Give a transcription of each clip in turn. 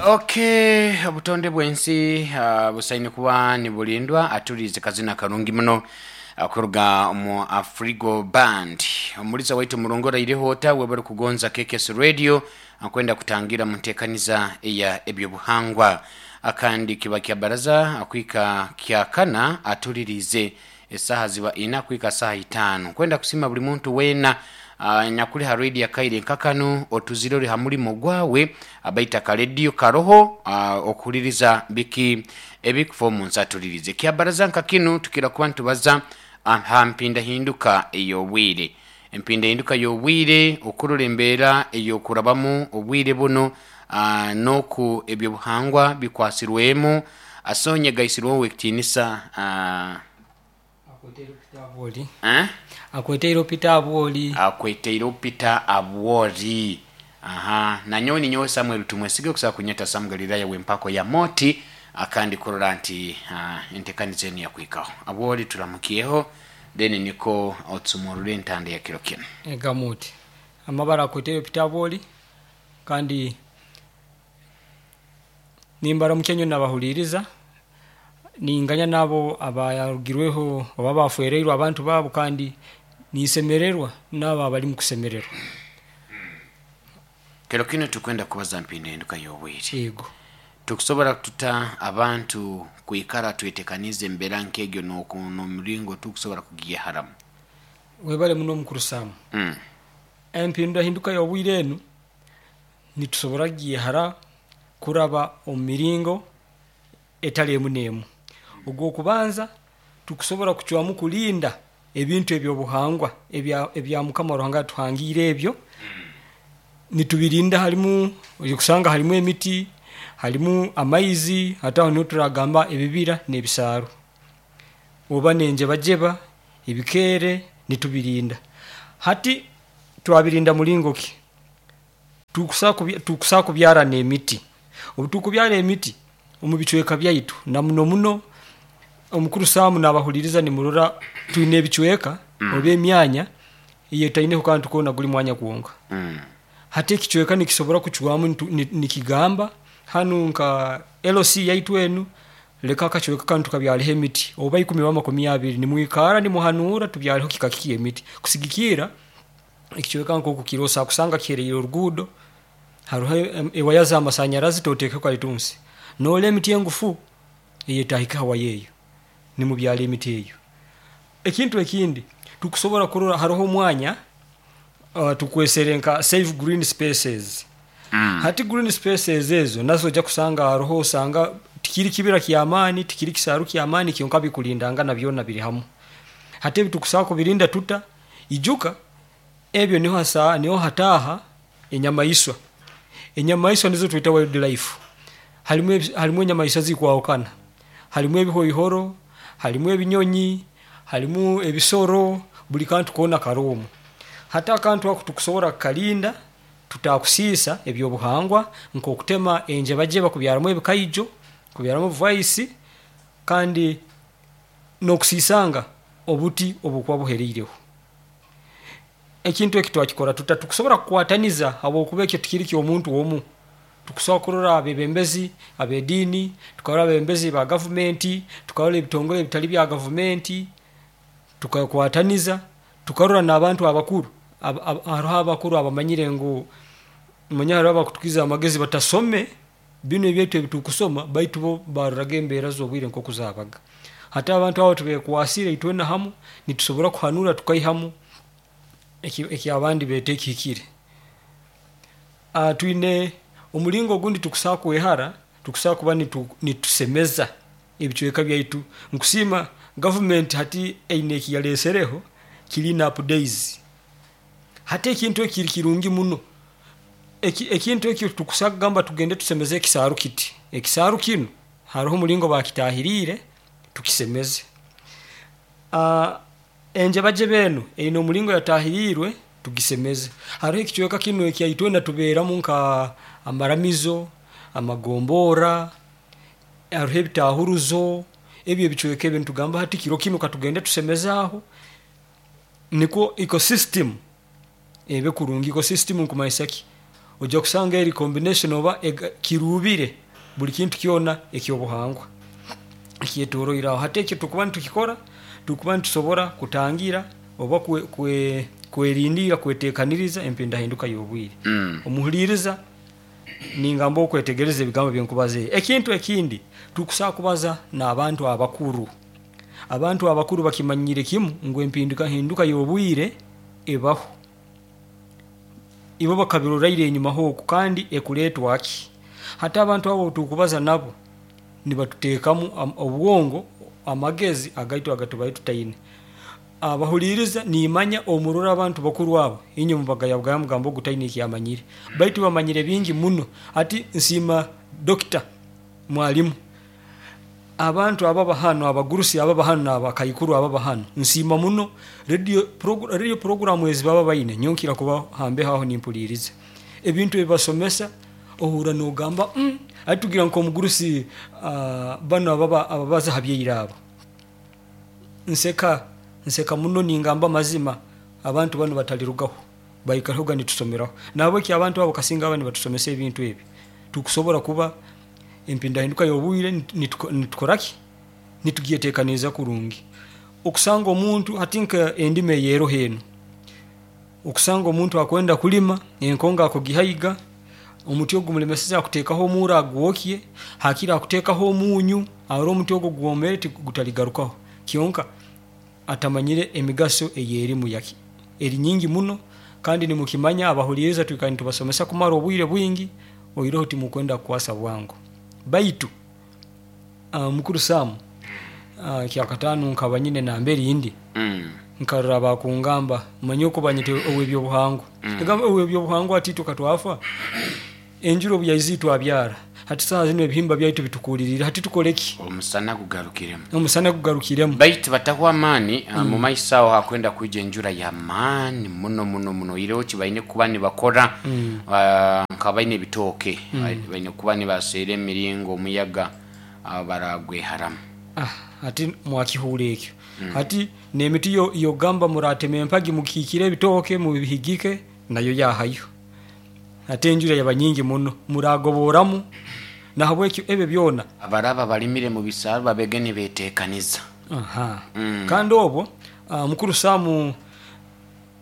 Okay, obutonde bw'ensi busaine kuba nibulindwa. Atuliize kazina karungi muno kuruga omu Afrigo Band. Omuliza waitu murungi oraireho ota webale kugonza KKS Radio akwenda kutangira mu nteekaniza eya ebyobuhangwa. Akandi kiba kya baraza kwika kyakana atuliriize esaaha ziba ina kwika saaha itaano. Nkwenda kusiima buli muntu weena anyakuli ha radio akaire nka kanu otuzire ori ha murimo gwawe baitu akarediyo karoho okuhuririza biki ebikufa omu nsi atulirize. Kyabaraza nka kinu tukira kuba nitubaza aha mpindahinduka ey'obwire. Empindahinduka y'obwire okurora embeera ey'okurabamu obwire bunu n'oku ebyobuhangwa bikwasirwemu. Sonia gaisirweho ow'ekitiinisa. Akweteire Peter Abwoli. Eh? Akweteire Peter Abwoli. Akweteire Peter Abwoli. Aha, nanyowe ninyowe Samuel Tumwesige okusobola kunyeta Sam Galilaya w'empako ya Moti akandi kurora nti entekaniza enu yakwikaho. Abwoli turamukyeho then niko otsumurure entanda ya kiro kinu. Ega Moti. Amabara akweteire Peter Abwoli kandi Nimbaramukya nyowe nabahuliiriza, ninganya n'abo abaarugirweho oba abaafwereirwe abantu baabo kandi ninsemererwa n'abo abali mu kusemererwa. Kiro kinu tukwenda kubaza mpindahinduka y'obwire. Yego. Tukusobora tuta abantu kwikara twetekaniize embera nk'egyo n'omuringo tukusobora kugiyeharamu? Webale muno mukuru Sam. Empindahinduka y'obwire enu nitusobora kugyehara kuraba omu miringo etali emu n'emu. Ogw'okubanza, tukusobora kucwamu kulinda ebintu eby'obuhangwa ebya Mukama Ruhanga yatuhangiire ebyo, nitubirinda harimu oija kusanga harimu emiti, harimu amaizi, hati aho niho turagamba ebibira n'ebisaaru oba n'enjebajeba, ebikeere nitubirinda. Hati twabirinda muringo ki? Tukusobola kubyara n'emiti. Obu tukubyara emiti omu bicweka byaitu na muno muno omukuru Sam nabahuliiriza nimurora twine ebicweka oba emyanya eyetaineho kantu koona guli mwanya gwonka. Hati ekicweka nikisobora kucwamu nikigamba hanu nka LC yaitu enu leka akacweka kanu tukabyareho emiti oba ikumi oba makumi abiri nimwikaara nimuhanuura tubyareho kika ki eky'emiti kusigikirra Ekicweka nk'oku kiri osobola kusanga kihereire oruguudo, haroho ewaya z'amasanyarazi totekeho kalitunsi. Norora emiti engufu eyetahika ha waya eyo, nimubyara emiti eyo. Ekintu ekindi, tukusobora kurora haroho omwanya tukwesere nka save green spaces. Hati green spaces ezo nazo oija kusanga haroho osanga tikiri kibira ky'amaani, tikiri kisaaru ky'amaani kyonka bikulindangana byona biri hamu. Hati ebi tukusobora kubirinda tuta? Ijuka, ebyo niho hataaha enyamaiswa. Enyamaiswa nizo tweta wild life. Harimu enyamaiswa ezirikwahukana, harimu ebihoihoro, harimu ebinyonyi, harimu ebisoro, buri kantu koona kari omwo. Hati akantu ako tikusobora kukarinda tutakusiisa eby'obuhangwa nk'okutema enjebajeba kubyaramu ebikaijo, kubyaramu obuvaisi kandi n'okusiisanga obuti obukuba buhereireho. Ekintu eki twakikora tuta? Tukusobora kukwataniza habwokuba ekyo tikiri ky'omuntu omu. Tukusobora kurora abebembezi ab'ediini, tukarora abebembezi ba gavumenti, tukarora ebitongole ebitali bya gavumenti, tukakwataniza, tukarora n'abantu abakuru. Haroho abakuru abamanyire ngu manya haroho abakutukiza amagezi batasome. Binu ebyaitu ebi turukusoma baitu bo baaroraga embeera z'obwire nk'oku zaabaga. Hati abantu abo tubekwasiire itwena hamu nitusobora kuhanura tukaihamu eki abandi beeta ekihikire. Twine omulingo ogundi tukusobora kwehara, tukusobora kuba nitusemeza ebicweka byaitu. Nkusiima gavumenti hati eine eki yaleesereho clean up days. Hati ekintu eki kiri kirungi muno. Ekintu eki titukusobora kugamba tugende tusemeze ekisaaru kiti. Ekisaaru kinu haroho omulingo baakitahiriire tukisemeze. Enjebajeba enu eine omulingo yatahiriirwe tugisemeze. Haroho ekicweka kinu ekya itwena tubeeramu nka amaramizo, amagomborra, haroho ebitaahuruzo, ebi ebicweka ebi nitugamba hati kiro kinu katugende tusemeze aho nikwo ecosystem ebe kurungi. Ecosystem nikumanyisa ki? Ojja kusanga eri combination oba kiruubire buli kintu kyona ekyobuhangwa ekyetoroire aho. Hati ekyo tukuba nitukikora, tukuba nitusobora kutangira oba kwerindira, kwetekaniriza empindahinduka y'obwire. Omuhuliriza ningamba okwetegereza ebigambo byenkubaza. Ekintu ekindi, tukusobola kubaza n'abantu abakuru. Abantu abakuru bakimanyire kimu ngu empindukahinduka y'obwire ebaho. Ibo bakabiroraire enyuma hooku kandi ekuleetwa ki? Hati abantu abo obutukubaza nabo, nibatuteekamu obwongo, amagezi agaitu agatubaire tutaine. Abahuliiriza nimanya omurora abantu bakuru abo, inywe mubagayabugaya mugamba ogu taine eki amanyire. Baitu bamanyire bingi muno. Hati nsiima Dokita Mwalimu. Abantu ababa hanu, abagurusi ababa hanu n'abakaikuru ababa hanu, nsiima muno radio program ezi baba baine, nyowe nkira kuba hambeho aho nimpuliiriza. Ebintu ebi basomesa, ohurra nogamba hati tugira nk'omugurusi banu ababaza ha byaira abo. Nseka, nseka muno ningamba amazima, abantu banu batalirugaho, baikarehoga nitusomeraho. Nahabweki abantu abo kasinga baba nibatusomesa ebintu ebi, tukusobora kuba empindahinduka y'obwire nitukora ki? Nitugyetekaniriza kurungi. Okusanga omuntu hati nka endima eyeroho enu, okusanga omuntu akwenda kulima, enkongo akugihaiga, omuti ogu gumulemeseze akuteekaho omuuro agwokye, hakire akuteekaho omunyu, arole omuti ogu gwomere gutaligarukaho. Kyonka atamanyire emigaso eyerimu yaki, eri nyingi muno kandi nimukimanya abahuliiriza twikara nitubasomesa kumara obwire bwingi, oihireho timukwenda kukwasa bwangu. Baitu mukuru Sam, kyakataano nkaba nyine nambere ndi, nkarora bakungamba, manya oku banyeta ow'ebyobuhangwa. Nagamba ow'ebyobuhangwa hati itwe katwafa, enjura obu yaizire twabyara, hati saaha zinu ebihimba byaitu bitukuuliriire, hati tukole ki? Omusana gugarukiremu. Omusana gugarukiremu. Baitu batahwa amaani, mu maiso aho hakwenda kwija enjura y'amaani muno muno muno. Oihireho ki baine kuba nibakora nka baine ebitooke, baine kuba nibaseera emiringo omuyaga baragweharamu. Hati mwakihuura ekyo. Hati n'emiti y'okugamba muratema empagi mukiikire ebitooke mubihigike, nayo yahayo. Hati enjura yaba nyingi muno, muragoboramu, nahabwekyo ebyo byona. Abaraba balimire mu bisaaro babege nibetekaniza. Kandi obwo mukuru Sam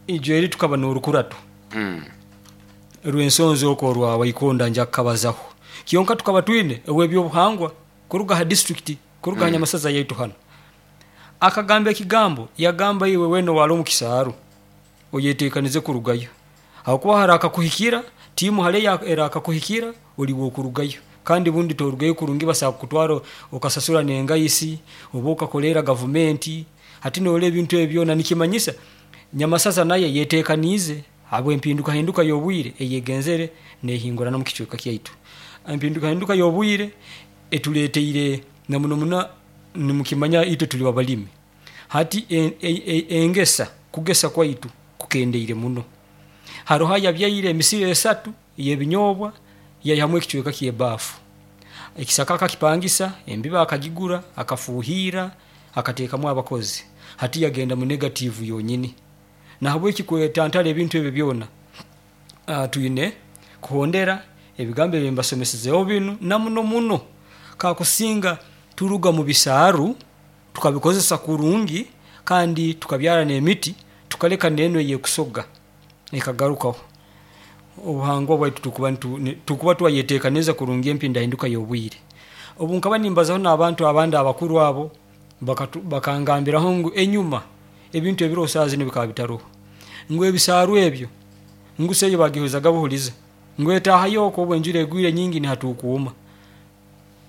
ijo eri tukaba n'orukurato rw'ensonzi okwo orwa Waikonda nja kukabazaho. Kyonka tukaba twine ow'ebyobuhangwa kuruga ha disiturikiti, kuruga ha Nyamasaza yaitu hanu. Akagamba ekigambo, yagamba iwe weena owali omu kisaaru oyetekanize kurugayo, habwokuba harakakuhikira, tiimu hali erakakuhikira oli w'okurugayo, kandi bundi torugayo kurungi basobola kukutwara okasasura n'engaisi oba okakoleera gavumenti. Hati norora ebintu ebi byona nikimanyisa Nyamasaza nayo eyetekaniize habw'empindukahinduka y'obwire eyegenzere nehingurana omu kicweka kyaitu. Empindukahinduka y'obwire etuleteire na muno muno nimukimanya itwe tuli abalimi, hati engesa, kugesa kwaitu kukendeire muno. Haroho ayabyaire emisiri esatu ey'ebinyobwa yaihamu ekicweka ky'ebaafu, ekisaka akakipangisa, embibo akagigura, akafuuhiira, akateekamu abakozi, hati yagenda mu negative yonyini. Nahabweki kwetantara ebintu ebyo byona, twine kuhondera ebigambo ebi mbasomesezeho binu na muno muno kakusinga turuga mu bisaaru tukabikozesa kurungi kandi tukabyara n'emiti tukaleka n'enu ey'ekusoga ekagarukaho. Obuhangwa bwaitu tukuba twayetekaniza kurungi empindahinduka y'obwire. Obu nkaba nimbazaho n'abantu abandi abakuru abo, bakangambiraho ngu enyuma ebintu ebiroho saaha zinu bikaba bitaroho. Ngu ebisaaru ebyo, ngu seyo bagihulizaga buhuliza, ngu etaahayo okwo obu enjura egwire nyingi nihatukuuma.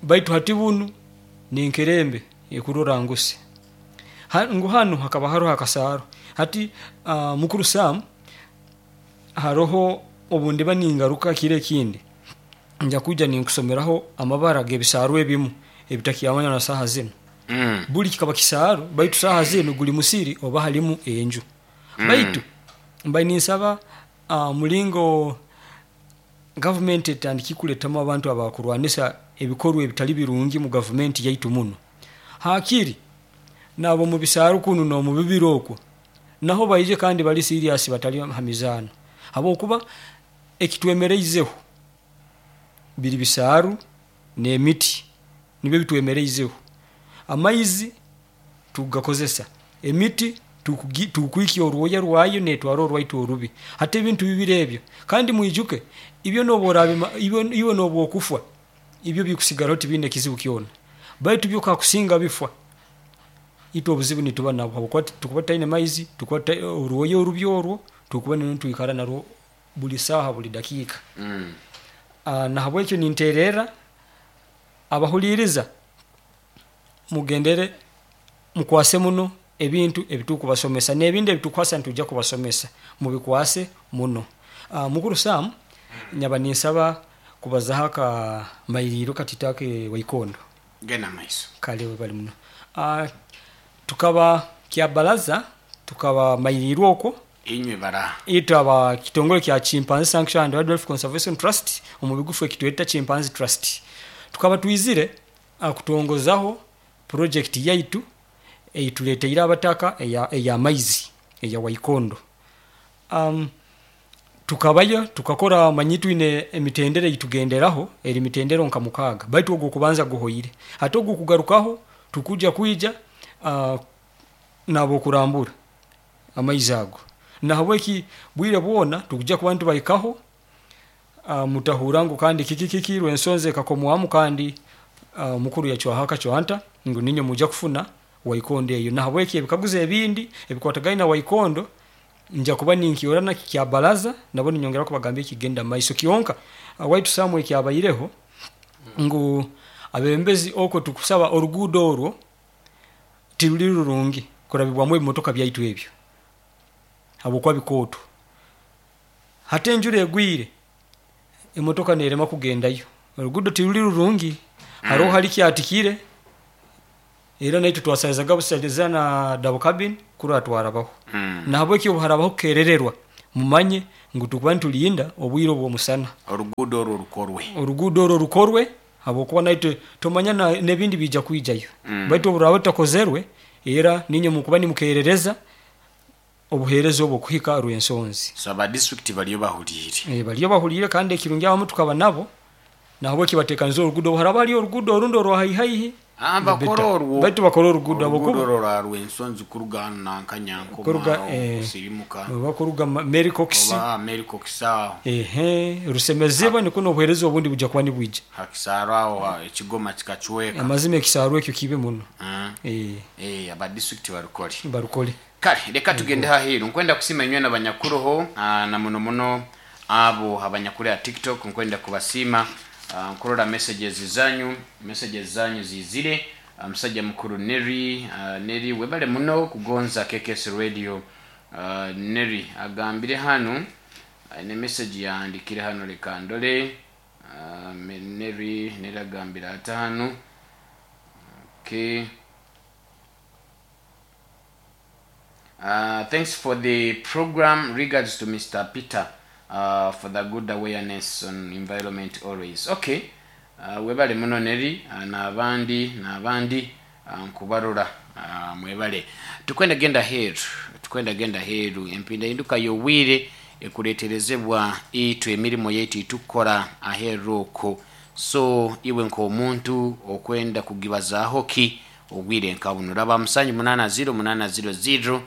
Baitu hati bunu n'enkerembe ekurora nguse. Ngu hanu hakaba haroho akasaaru. Hati mukuru Sam, haroho obu ndiba ningaruka kiro ekindi, nja kwija ninkusomeraho amabara g'ebisaaru ebimu ebitakyamanywa na saaha zinu. Buli kikaba kisaaru baitu saaha zinu guli musiri oba halimu enju. Baitu mbaire ninsaba omulingo gavumenti etandikire kuletamu abantu abakurwanisa ebikorwa ebitali birungi mu gavumenti yaitu munu, hakiri n'ab'omu bisaaru kunu n'omu bibira okwo naho baije kandi bali serious batali ha mizaano habwokuba. Ekitwemereizeho biri bisaaru n'emiti, nibyo bitwemereizeho. Amaizi tukugakozesa, emiti tukwikya orwoya rwayo netwara orwaitu orubi. Hati ebintu bibiri ebyo, kandi mwijuke ibyo iwe nobwokufwa, ibyo bikusigaraho tibiine kizibu kyona, baitu byo kakusinga bifwa, itwe obuzibu nituba nabwo habwokuba tukuba tutaine maizi, orwoya orubi orwo tukuba nitwikara narwo buli saaha buli dakiika. Nahabwekyo ninteererra abahuliiriza mugendere mukwase muno ebintu ebitukubasomesa n'ebindi ebitukukwasa nitwija kubasomesa, mubikwase muno. Mukuru Sam, nyaba ninsaba kubazaho akamairiiro katiito ake Waikondo. Genda mumaiso. Kale webale muno. Tukaba Kyabaraza, tukaba mairiirwe okwo. Inywe bara? Itwe aba kitongole kya Chimpanzee Sanctuary and Wildlife Conservation Trust, omu bigufu ekitweta Chimpanzee Trust. Tukaba twizire kutongozaho project yaitu eituleteire abataka ey'amaizi eya Waikondo. Tukabayo tukakora, omanyi twine emitendera eitugenderaho, eri mitendero nka 6, baitu ogu okubanza guhoire. Hati ogu kugarukaho tukuja kwija n'abokurambura amaizi ago. Nahabweki bwire bwona tukuja kuba nitubahikaho, mutahurra ngu kandi kiki kiki Rwensonzi ekakomwamu kandi omukuru yacwaho akacwanta ngu niinywe mwija kufuna Waikondo eyo. Nahabweki ebikaguzo ebindi ebikwatagaine na Waikondo nja kuba ninkiorana Kyabaraza nabo ninyongera kubagambira ekigenda mumaiso. Kyonka waitu Sam ekyabaireho ngu abebembezi okwo tukusaba oruguudo orwo tiruri rurungi kurabibwamu ebimotoka byaitu ebyo habwokuba bikooto. Hati enjura egwire, emotoka nerema kugendayo. Oruguudo tiruri rurungi, haroho hali kyatikire, era naitwe twasalizaga busaliza na double cabin kurora twarabaho. Nahabweki obu harabaho kukerererwa, mumanye ngu tukuba nitulinda obwire obw'omusana. Oruguudo orwo rukorwe. Oruguudo orwo rukorwe habwokuba naitwe tomanya n'ebindi biija kwijayo. Baitu obu ruraba rutakozerwe, era niinywe mukuba nimukerereza obuheereza obu okuhika Rwensonzi. So aba district bariyo bahuliire? Bariyo bahuliire kandi ekirungi abamu tukaba nabo, nahabweki batekanize oruguudo. Obu haraba hariyo oruguudo orundi orwa haihi, Bakore orwo. Baitu bakore oruguudo Oruguudo habwokuba orwo rwa Rwensonzi kuruga hanu nanka Nyankoma kuruga aho kusirimuka. Oba kuruga Mary Cox. Oba Mary Cox aho. Rusemezibwe nikwo n'obuheereza obundi bujya kuba nibwija. Ha kisaaru aho ekigoma kikacweka. Amazima ekisaaru ekyo kibi muno. Aba district barukore. Barukore. Kale leka tugende haheeru. Nkwenda kusiima inywena abanyakuroho na muno muno abo abanyakuri aha TikTok, nkwenda kubasiima. Nkurora messages zanyu, messages zanyu ziizire. Musajja mukuru Nelly, Nelly webale muno kugonza KKS Radio. Nelly agambire hanu, aine message yahandikire hanu, leka ndore. Nelly, Nelly agambire ata hanu? Okay. Thanks for the program. Regards to Mr. Peter for the good awareness on environment always. Okay. Webale muno Nelly, n'abandi n'abandi, nkubarora, mwebale. Tukwenda genda heeru, tukwenda genda heeru. Empindahinduka y'obwire ekureeterezebwa itwe emirimo yaitu eitukukora aheeru okwo. So iwe nk'omuntu okwenda kugibazaaho ki obwire nka buno? Raba 780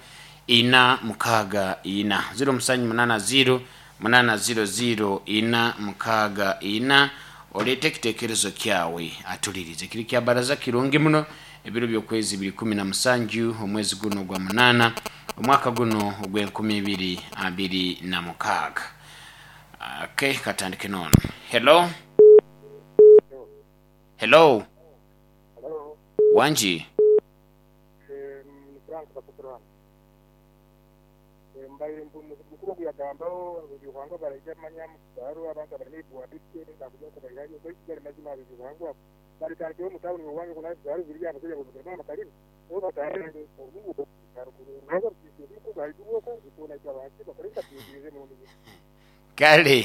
800 464, 0780 800 464, oleete ekitekerezo kyawe atulirize. Kiri kya baraza kirungi muno. Ebiro by'okwezi biri 17 omwezi guno ogwa 8 omwaka guno ogw'e 2026. Okay, katandike n'ono. Hello, hello. Hello. Wangi. Ni Frank Kasasiro hanu. Mbaire mukuru ogu yagambaho ebyobuhangwa baraija manya mukisaaro abantu abarina ebibwa bike bakuja kubairayo baitu gali mazima ebyobuhangwa babitandikireho omu tawuni owange naho ebisaaro biriyo abashaija bombekeremu amakalina nabo batandikire oruguudo haiguru okwo itwena itwe ahansi bakore nka emirundi ibiri. Kale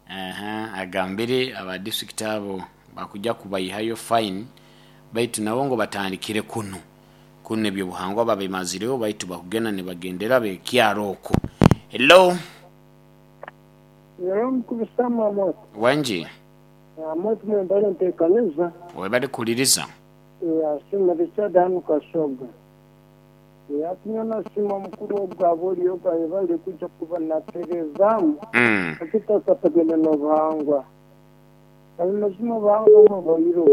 aha, agambire aba district abo bakuja kubaihayo fine, baitu nabo ngu batandikire kunu kunu ebyobuhangwa babimazireho, baitu bakugenda nibagendera bekyaro okwo. Hello. Yero mukuru Sam Amoth. Wangi. Amoth mwebale ntekaniza. Webale kuhuliriza. Asiima Richard hanu Kasoga. Ati nyowe nasiima omukuru ogu habw'ori ogu ayebale kwija kuba natereezaamu ekitakwatagaine n'obuhangwa. Kandi mazima obuhangwa bwo bwaireho.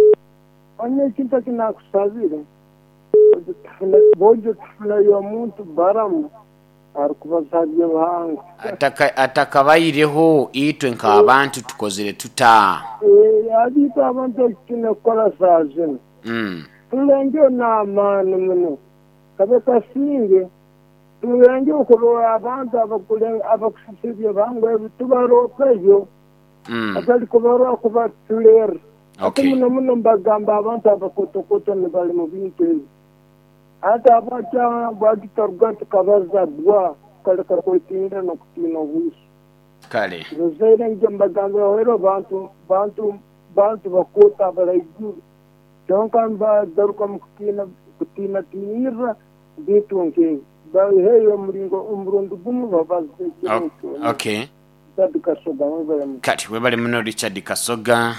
Manya ekintu eki nakusabire, boija tufuneyo omuntu Baramu arukubaza ha by'obuhangwa. Atakabaireho itwe nk'abantu tukozere tuta? Hati itwe abantu eki twine kukora saaha zinu, tulengeho n'amaani muno kabe kasinge, tulengeho kurora abantu abakusisa eby'obuhangwa ebi tubaroopeyo, hatali kubarora kubatulerra. Hati muno muno mbagamba abantu abakotokoto nibali mu bintu ebi. Hati habwaki tutaruga tukabaza bbwa tukaleka kwetiinira n'okutiina obwisi? Kale. Ruzaire ngya mbagambira hoiro bantu bantu bantu bakooto abaraiguru kyonka nibagaruka mu kutiina kutiinatiinirra bintu nk'ebi. Baiheyo omuringo omurundi gumu babaze ekiro kyona. Okay. Richard Kasoga mwebale muno. Kati webale muno Richard Kasoga.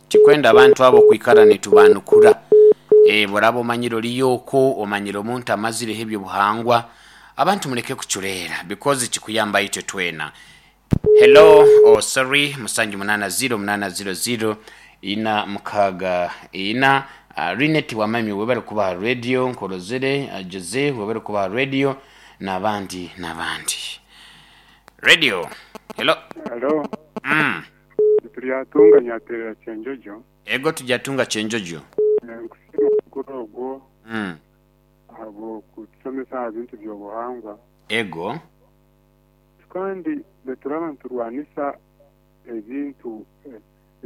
Tikwenda abantu abo kwikara nitubanukura. Bworaba omanyire oriyo okwo, omanyire omuntu amazireho ebyobuhangwa, abantu muleke kuculeera because kikuyamba itwe twena. Hello, oh sorry, musanju munana ziro munana ziro ziro ina mukaga ina. Linet Wamami webale kuba ha radio, Nkorozere, Jose webale kuba ha radio nabandi nabandi. Radio, hello. Hello. Turyatunga Nyaterera Kyenjojo. Ego Turyatunga Kyenjojo. Nkusiima omukoro ogwo ahabw'okutushomesa aha bintu by'obuhangwa. Ego. Kandi nituraba niturwanisa ebintu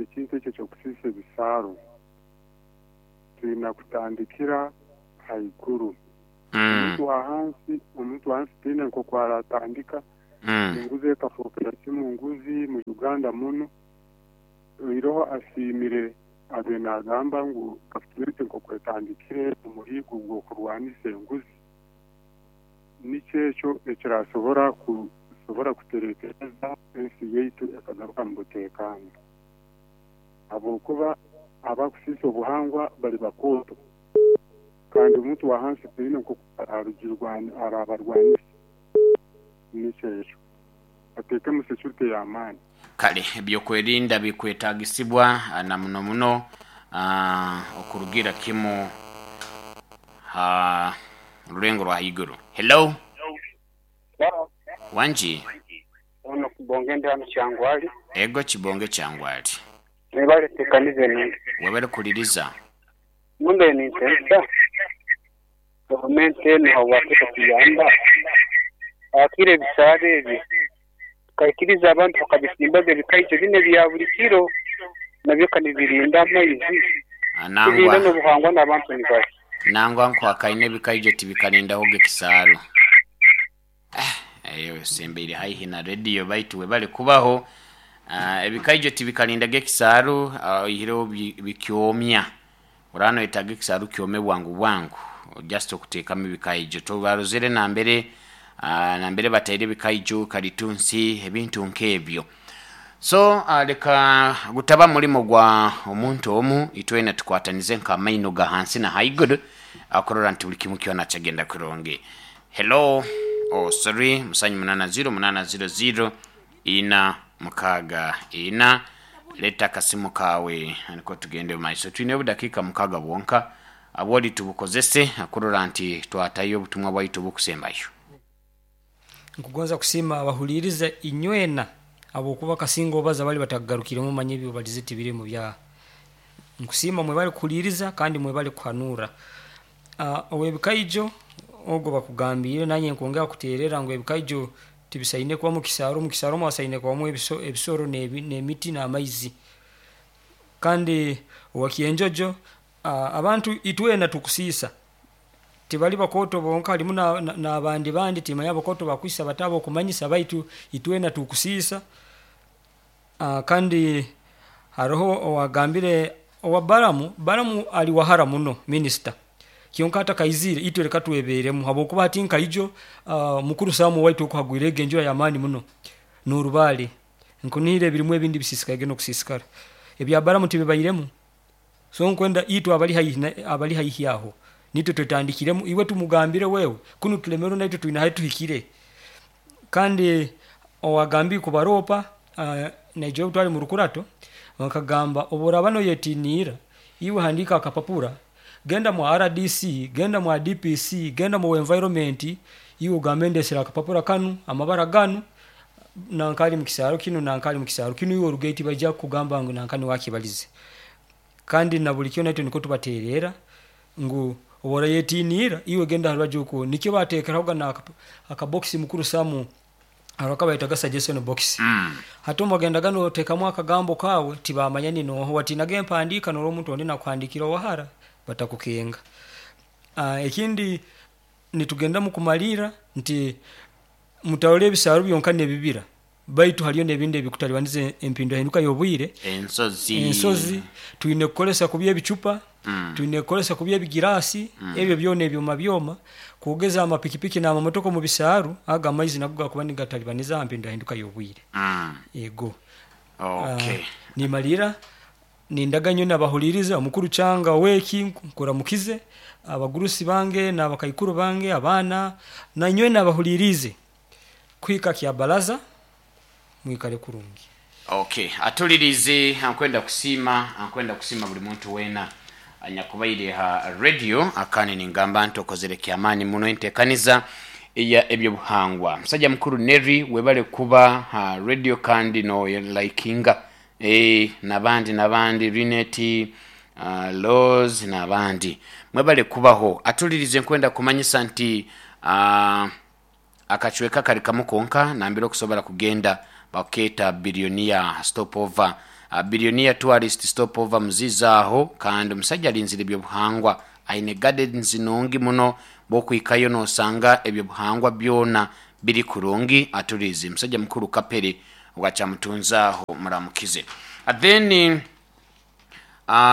ekintu ekyo eky'okusiisa ebisaaro, twine kutandikira haiguru. Omuntu wa hansi, omuntu wa hansi tihaine nk'oku aratandika, enguzi ekafookera kimu nguzi mu Uganda munu. Oihireho asiimire abaire naagamba ngu gavumenti nk'oku etandikire omuhiigo gw'okurwanisa enguzi, nikyo ekyo ekirasobora kusobora kuterekereza ensi yaitu ekagaruka mu buteekaano. Habwokuba abakusiisa obuhangwa bali bakooto kandi omuntu wa hansi tihaine nk'oku arabarwanisa. Nikyo ekyo. Bateekemu security ey'amaani. Kale ebyokwerinda bikwetagisibwa na muno muno okurugira kimu ha rulengo rwa haiguru. Hello. Wangi. Ono Kibonge ndi hano Kyangwali. Ego Kibonge Kyangwali. Mwebale tekaniza enungi. Webale kuliriza. Mumbe nintensa gavumenti enu habwaki etatuyamba hakire ebisaaro ebi tukaikiriza abantu bakabisimbaga ebikaito binu ebya buli kiro nabyo kanibirinda amaizi turinda n'obuhangwa n'abantu nibari. Nangwa nkwakaine ebikaijo tibikarindahoga ekisaaru. Eyo osembeire haihi na rediyo baitu webale kubaho. Ebikaijo tibikarindaga ekisaaru oihireho bikyomya. Oraba noyetaaga ekisaaru kyome bwangu bwangu just okuteekamu ebikaijo. Tobarozere nambere nambere bataire ebikaijo, kalitunsi, ebintu nk'ebyo. So leka gutaba mulimo gwa omuntu omu, itwena tukwatanize nk'amaino ga hansi na haiguru kurora nti buli kimu kyona kyagenda kurungi. Hello, oh sorry, musanju munana ziro munana ziro ziro ina mukaga ina. Leta akasimu kawe niko tugende mumaiso. Twine obudakiika mukaga bwonka abwoli tubukozese kurora nti twatayo obutumwa bwaitu obukusembayo. Nkugonza kusiima abahuliiriza inywena habwokuba kasinga obaza bali batakugarukiremu manya ebi obalize tibirimu bya. Nkusiima mwebale kuhuliiriza kandi mwebale kuhanura. Ow'ebikaijo ogu bakugambiire nanye nkwongera kuteererra ngu ebikaijo tibisaine kuba mu kisaaro, mu kisaaro mwasaine kubamu ebisoro n'emiti n'amaizi. Kandi owa Kyenjojo abantu itwena tukusiisa tibali bakooto bonka halimu n'abandi bandi timanya abakooto bakwisa bata abokumanyisa baitu itwena tukusiisa. Kandi haroho owagambire owa Balamu, Balamu ali wahara muno minisita kyonka atakaizire itwe leka tweberemu habwokuba hati nkaijo mukuru Sam owaitu oku hagwirege enjura y'amaani muno. N'orubaale nkunihira ebirimu ebindi bisisikaire n'okusisikara ebya baramu tibibairemu. So nkwenda itwe abali haihi abali haihi aho nitwe twetandikiremu, iwe tumugambire wewe kunu tulemerwe naitwe twine ahi tuhikire. Kandi owagambire kubaropa, naija obu twali mu rukurato bakagamba obu oraaba noyetiniira iwe handiika akapapura, genda mu RDC, genda mu DPC, genda mu environment, iwe ogambe ndesere akapapura kanu, amabara ganu, nanka ali mukisaaro kinu, nanka ali mukisaaro kinu, iwe orugeyo tibaija kukugamba ngu nanka niwe akibalize. Kandi na buli kyona itwe nikwo tubateererra ngu obu orayetiniira iwe genda harubaju okwo, nikyo bateekerahoga n'akabokisi mukuru Samu haro bayetaga suggestion box. Hati obu wagendaga noteekamu akagambo kaawe tibamanya ni nooha, watiinaga empandiika norora omuntu ondi nakuhandiikira owahara batakukenga. Ekindi nitugenda mukumalirra nti mutarora ebisaaru byonka n'ebibira baitu hariyo n'ebindi ebikutalibaniza empindahinduka y'obwire. Ensozi. Ensozi twine kukozesa kubi ebicupa, twine kukozesa kubi ebigiraasi, ebyo byona ebyoma byoma, kwogeza amapikipiki n'amamotoka omu bisaaru, ago amaizi nago gakuba nigatalibaniza ha mpindahinduka y'obwire. Ego. Okay. Nimalirra nindaga nyowe nabahuliriza omukuru Kyanga ow'eki nkuramukize, abagurusi bange n'abakaikuru bange, abaana, nanyowe nabahuliriize kuhika Kyabaraza mwikale kurungi. Okay, atulirize ankwenda kusiima, ankwenda kusiima buli muntu weena anyakubaire ha radio akandi ningamba nti okozere kyamaani muno enteekaniza eya ebyobuhangwa. Musajja mukuru Neri webale kuba ha radio kandi no likinga nabandi nabandi Rineti, Laws nabandi mwebale kubaho. Atulirize nkwenda kumanyisa nti akacweka kali kamu konka nambere okusobora kugenda bakeeta Billionaire Stopover. Billionaire Tourist Stopover muziza aho kandi omusajja alinzire ebyobuhangwa aine gardens nungi muno bwokwikayo nosanga ebyobuhangwa byona biri kurungi. Atulirize musajja mukuru Kapere obwakyamutunze aho muramukize. Then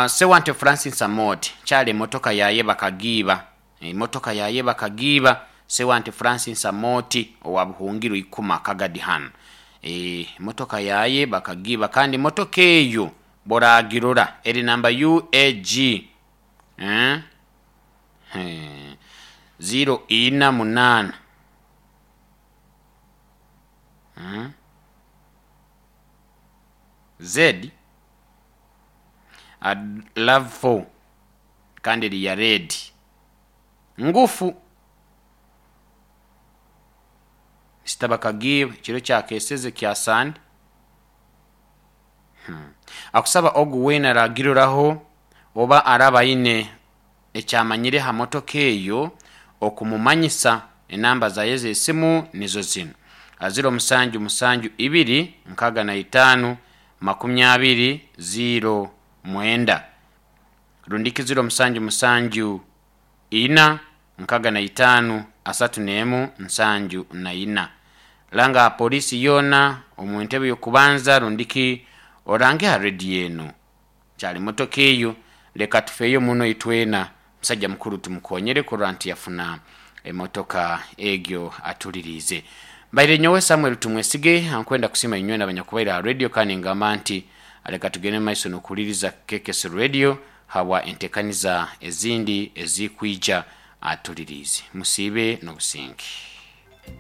Sewante Francis Amoti kyali emotoka yaye bakagiiba, emotoka yaye bakagiiba. Sewante Francis Amoti owa Buhungiro Ikuma Kagadi hanu, emotoka yaye bakagiiba kandi emotoka eyo bworagirora eri namba UAG 048 Z Love 4 kandi eri ya red ngufu. Mister Bakagiiba ekiro kyakeseze kya Sande akusaba ogu weena aragiroraho oba araba aine ekyamanyire ha motoka eyo okumumanyisa. Enamba zaye ez'esimu nizo zinu: 0772 65 20 09 rundiki 0774 65 31 74. Langa polisi yoona omu ntebe y'okubanza rundiki orange ha rediyo eno kyali motoka eyo. Leka tufeeyo muno itwena musajja mukuru tumukonyere kurora nti yafuna emotoka egyo atuliriize. Mbaire nyowe Samuel Tumwesige ankwenda kusiima inywena abanyakubaire ha radio kandi ngamba nti leka tugende mu maiso n'okuhuliriza KKS Radio habwa entekaniza ezindi ezikwija atuliriize. Musiibe n'obusinge.